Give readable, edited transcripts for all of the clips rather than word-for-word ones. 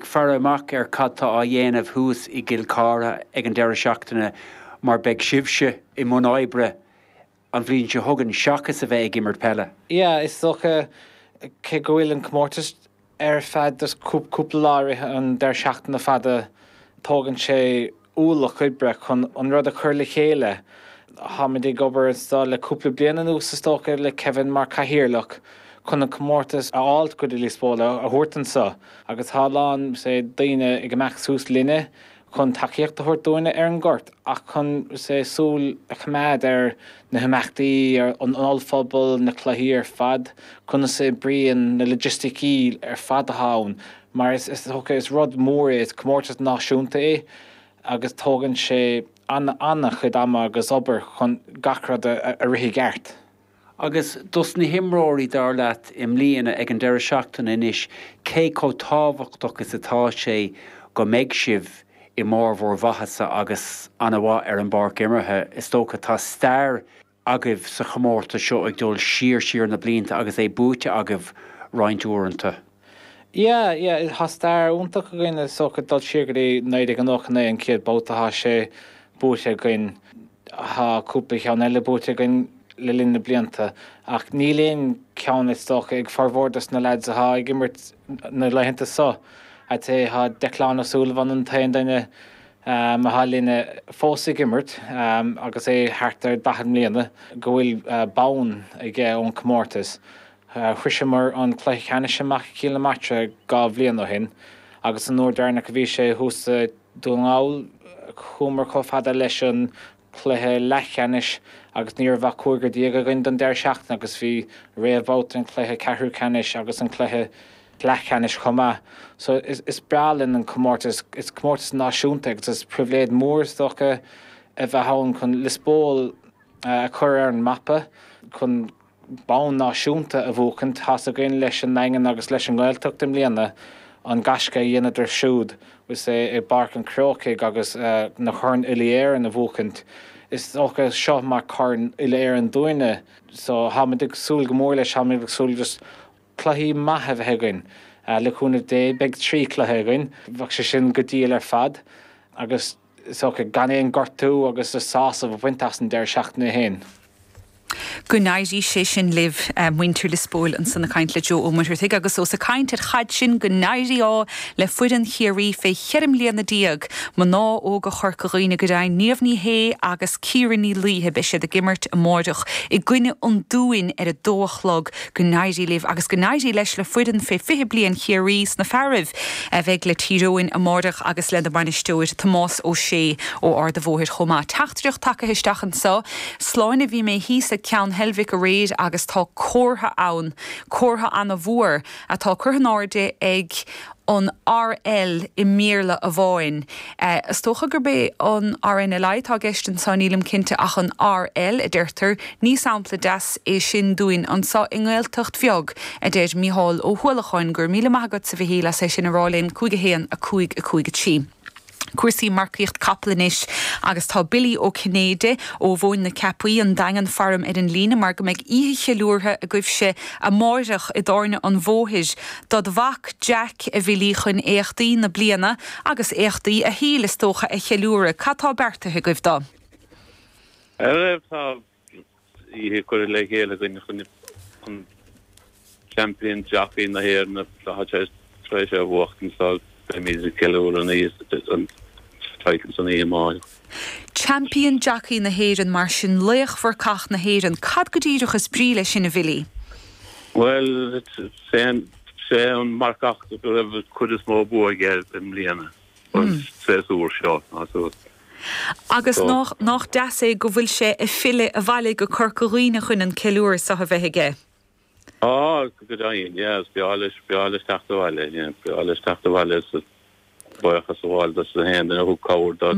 faire amach ar cad tá á dhéanamh thuas i gCill Chartha ag an deireadh seachtaine mar beidh sibhse i mbun oibre an bhliain seo chugainn seachas a bheith ag imirt peile. Yeah, is dócha, cé go bhfuil an comórtas ar feadh just cúpla lá i rith an deireadh seachtaine fada, tógann sé ualach oibre chun an rud a chur le chéile. Táimid ag obair anseo le cúpla bliain anuas is dócha le Kevin mar cathaoirleach chun an comórtas a fháilt go dtí Lios Póil, a thabhairt anseo agus tá a lán say daoine ag imeacht suas linne chun tacaíocht a thabhairt dúinne ar an ngort ach chun say súil a choimeád ar na himeachtaí, ar an ollphuball, na cluichí ar fad, conas a oibríonn na logisticí ar fad atá ann. Mar is dócha, is rud mór é, is comórtas náisiúnta é agus tógann sé an-chuid ama agus obair chun gach rud a rith i gceart. Agus dos na himreoirí, dar leat, i mbliana, ag an deireadh seachtaine anois, cé chomh tábhachtach is atá sé go mbeidh sibh i mbarr bhur mhaitheasa agus an-mhaith ar an bpáirc imeartha? Is dócha, tá stair agaibh sa chomórtas seo ag dul siar siar na blianta agus é buaite agaibh roinnt uaireanta. Yeah, yeah, tá stair iontach againn is dócha dul siar go dtí 1999 an chéad babhta atá sé buaite againn. Tá cúpla ceann eile buaite againn le linn na blianta ach níl aon cheann is dócha ag formhór dos na lads atá ag imirt na laethanta seo. I'd say tá Declan O'Sullivan an t-aon duine atá linne fós ag imirt agus é thart ar 40 mbliana, go bhfuil bonn aige ón chomórtas. Shroiseamar an cluiche ceannais amach i gCill na Martra 2 bhliain ó shin agus an uair deireanach a bhí sé thuas i Dún na nGall chuamar chomh fada leis an cluiche leathcheannais agus ní raibh ach cúigear againn don deireadh seachtaine agus bhí réamhbhabhta an chluiche ceathrú ceannais agus an cluiche leathcheannais chomh maith. So is breá linn an comórtas, is comórtas náisiúnta agus is pribhléid mór is dócha a bheith ann chun Lios Póil a chur ar an mapa, chun bonn náisiúnta a bhuachaint. Tá's againn leis an nDaingean agus leis an nGaeltacht i mbliana an gaisce a dheineadar siúd is é i bPáirc an Chrócaigh agus na Coirn Uile-Éireann a bhuachaint. Is dócha seo mar Chorn Uile-Éireann dúinne so táimid ag súil go mór leis, táimid ag súil just cluichí maith a bheith againn. Le cúnamh Dé beidh 3 chluiche againn, bheadh sé sin go diail ar fad agus is dócha gan aon gortú agus just sásamh a bhaint as an deireadh seachtaine féin. Go n-éirí sé sin libh, muintir Lios Póil ansan ag caint le Joe Ó Muircheartaigh agus ós ag caint ar chaid sinn, go n-éirí ádh le foireann Chiarraí fé cheithre mbliana déag, mná óga Chorca Dhuibhne go deimhin, Niamh Ní Shé agus Ciara Ní Laoithe, beidh siad ag imirt amáireach i gcoinne an Dúin ar a dó a chlog. Go n-éirí libh agus go n-éirí leis le foireann fé 20 bliain Chiarraí sna fearaibh a bheidh le Tír Eoghain amáireach agus lena mbainisteoir Tomás Ó Sé ó Ard a' Bhóthair chomh maith. Teachtaireacht tagtha isteach anseo. Sláine bhí mé thíos ag Ceann Heilbhic aréir agus tá comhartha ann, comhartha ana-mhór atá curtha in airde ag an RL i mBéarla amháin. Is dócha gurb é an RNLI atá i gceist anseo, nílim cinnte, ach an RL a deirtear. Ní sampla deas é sin dúinn anseo i nGaeltacht bheag, a deir Mícheál Ó hUallacháin. Go raibh míle maith agatsa, a Mhichíl, as é sin a rá linn. 5 1 5 5 3. Cúrsaí marcaíocht capall anois agus tá Billy Ó Cinnéide ó Mhóin na Ceapaí, An Daingean Farm ar an líne mar go mbeidh oíche cheiliúrtha agaibhse amáireach i dTábhairne an Bhóthair dod mhac Jack, a Bhillí, chun éachtaí na bliana agus éachtaí a shaoil is dócha a cheiliúradh. Cad tá beartaithe agaibh dó? Tá oíche curtha le chéile againn chun an Champion Jockey na hÉireann atá tar éis é a bhuachtaint so beimid ag ceiliúradh an oíche an title san oíche amárach. Champion Jockey na hÉireann, mar sin, laochmharcach na hÉireann. Cad go díreach is brí leis sin, a Bhillí? Bhuel, sé an marcach go raibh an chuid is mó bua aige i mbliana, an séasúr seo. Agus nách deas é go bhfuil sé ag filleadh abhaile go Corca Dhuibhne chun an ceiliúradh so a bheith aige. Á, go deimhin, yeah, is breá leis, breá leis teacht abhaile, yeah, breá leis teacht abhaile is buíochas a ghabháil dos na haon duine a thug cabhair dó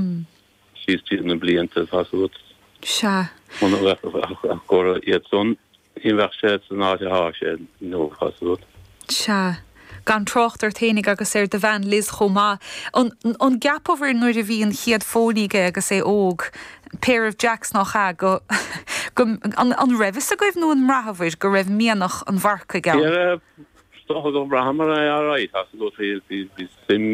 síos tríd na blianta, tá 's agat. Sea. Muna mbeadh ach go raibh iad san Ní bheadh sé san áit atá sé inniu, tá 's agat. Sea. Gan trácht ort fhéinig agus ar do bhean Liz chomh maith. An an gceapabhair nuair a bhí an chéad phónaí aige agus é óg, pair of jacks nach ea, go go an an raibh fhios agaibh nó an mbraitheabhair go raibh mianach an mharcaigh ann? Is dócha go mbraitheamar é alright, tá 's agat, bhí suim.